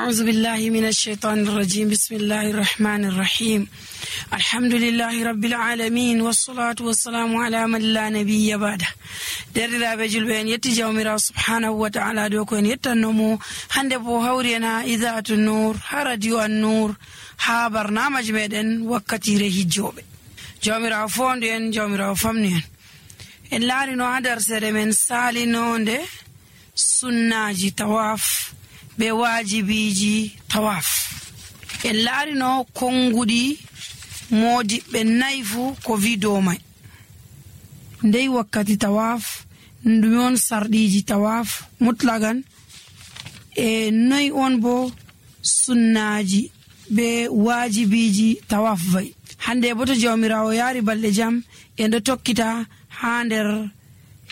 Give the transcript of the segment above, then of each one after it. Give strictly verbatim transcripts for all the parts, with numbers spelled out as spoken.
أعوذ بالله من الشيطان الرجيم. بسم الله الرحمن الرحيم. الحمد لله رب العالمين، والصلاة والسلام على من لا نبي بعده. Derɗiraaɓe julɓe, en yetti Jawmiraawo subhanahu wa ta'ala dow ko en yettanno mo. Hannde bo hawri en haa Idaa'atu Nuur, haa Radio An-Nuur, haa barnaamaaji meɗen wakkatiire hijjooɓe. Jawmiraawo foondu en, Jawmiraawo famnu en. En laarino haa darseere men saalinoonde sunnaaji tawaaf be waajibiiji tawaaf. En laarino konnguɗi moodiɓɓe nayi fuu ko wii dow may. Ndey wakkati tawaaf, ndume on sarɗiiji tawaaf mutlagan, e noy on bo sunnaaji be waajibiiji tawaaf wa'i. Hannde bo to Jawmiraawo yaari balɗe jam, en ɗo tokkita haa nder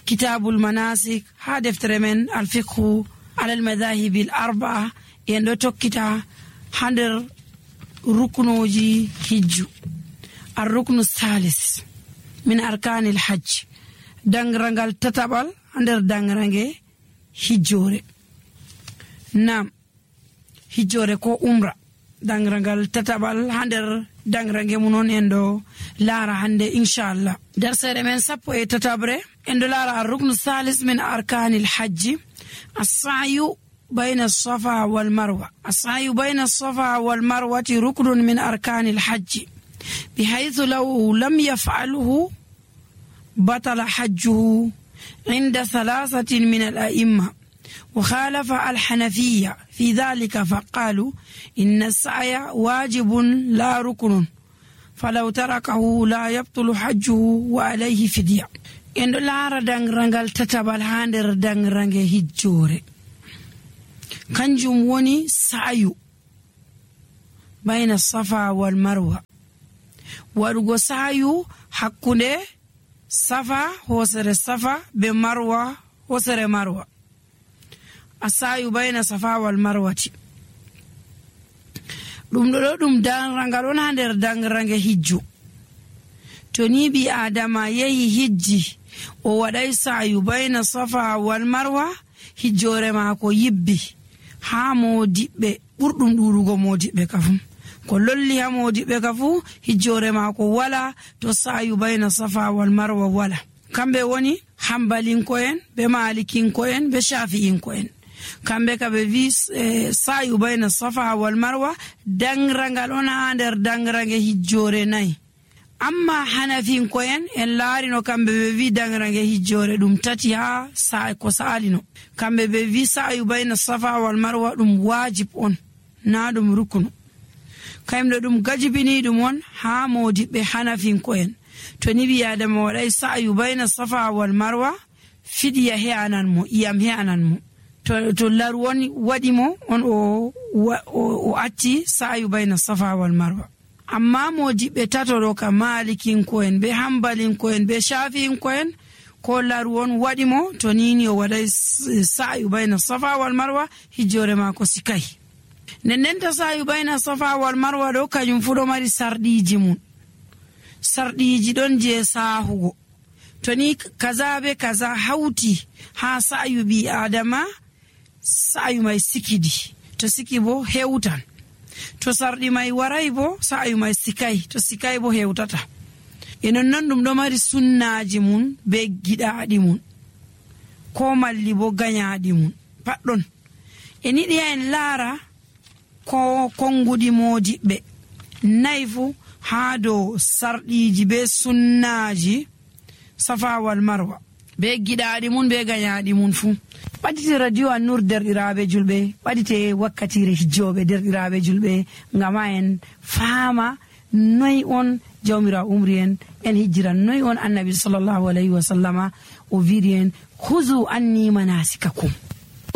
Kitaabul Manaasik, haa deftere men Al-Fiqhu alal Madaahibil Arba'a, en ɗo tokkita haa nder ruknuuji hijju. Ar-ruknu saalis min arkaanil hajj, daŋraŋgal tataɓal haa nder daŋraŋge hijjoore. Naam, hijjoore ko umra. Daŋraŋgal tataɓal haa nder daŋraŋge mum on en ɗo laara hannde, inchallah. Darseere men sappo e tataɓre, en ɗo laara ar-ruknu saalis min arkaanil hajji, as-sa'yu bayna as-safa wal marwa. As-sa'yu bayna as-safa wal marwati ruknun min arkaanil hajji, bihaythu law lam yaf'alhu batala hajjuhu inda thalathatin min al-a'imma. وخالف الحنفية في ذلك فقالوا إن السعي واجب لا ركن، فلو تركه لا يبطل حجه وعليه فدية. En ɗo laara daŋraŋgal tataɓal haa nder daŋraŋge hijjoore. Kanjum woni sa'yu bayna safa wal marwa. Waɗugo sa'yu hakkunde safa, hoosere safa, be marwa, hoosere marwa. As-sa'yu bayna safa wal marwati. Ɗum ɗo, ɗo ɗum daŋraŋgal on haa nder daŋraŋge hijju. To ni ɓii Aadama yehi hijji, o waɗay sa'yu bayna safa wal marwa, hijjoore maako yibbi. Haa moodiɓɓe, ɓurɗum ɗuuɗugo moodiɓɓe ka fu. Ko lolli haa moodiɓɓe ka fu, hijjoore maako wala, to sa'yu bayna safa wal marwa wala. Kamɓe woni Hanbalinko'en, be Maalikinko'en, be Shafi'inko'en. Kamɓe ka ɓe wi, eh, sa'yu bayna safa wal marwa, daŋraŋgal on haa nder daŋraŋge hijjoore nayi. Amma Hanafinko'en, en laarino kamɓe ɓe wi daŋraŋge hijjoore ɗum tati haa sa-, ko saalino. Kamɓe ɓe wi sa'yu bayna safa wal marwa ɗum waajib on, na ɗum rukunu. Kayum ɗo ɗum gajibini ɗum on haa moodiɓɓe Hanafinko'en. To ni ɓii Aadama waɗay sa'yu bayna safa wal marwa, fidiya he'anan mo, iyam he'anan mo. To, to laru on waɗi mo, on o wa-, o, o acci sa'yu bayna safa wal marwa. Amma moodiɓɓe tato ɗo ka Maalikinko'en, be Hanbalinko'en, be Shafi'inko'en, ko laru on waɗi mo, to ni ni o waɗay s-, sa'yu bayna safa wal marwa, hijjoore maako sikay. Nden nden ta sa'yu bayna safa wal marwa ɗo, kanyum fu ɗo mari sarɗiiji mum. Sarɗiiji ɗon je saahugo. To ni kaza be kaza hawti haa sa'yu ɓii Aadama, sa'yu may sikidi. To siki bo, hewtan. To sarɗi may waray bo, sa'yu may sikay. To sikay bo, hewtata. E non non ɗum ɗo mari sunnaaji mum be giɗaaɗi mum. Ko malli bo ganyaaɗi mum. Pat ɗon. En yiɗi en laara ko konnguɗi moodiɓɓe nayi fu haa dow sarɗiiji be sunnaaji safa wal marwa, be giɗaaɗi mum, be ganyaaɗi mum fu. Ɓadite Radio An-Nur, derɗiraaɓe julɓe, ɓadite wakkatiire hijjooɓe, derɗiraaɓe julɓe, ngam haa en faama noy on Jawmiraawo umri en, en hijjira noy on Annabi sallallahu alayhi wa sallama o wi'ri en, "Khuzu anni manasikakum."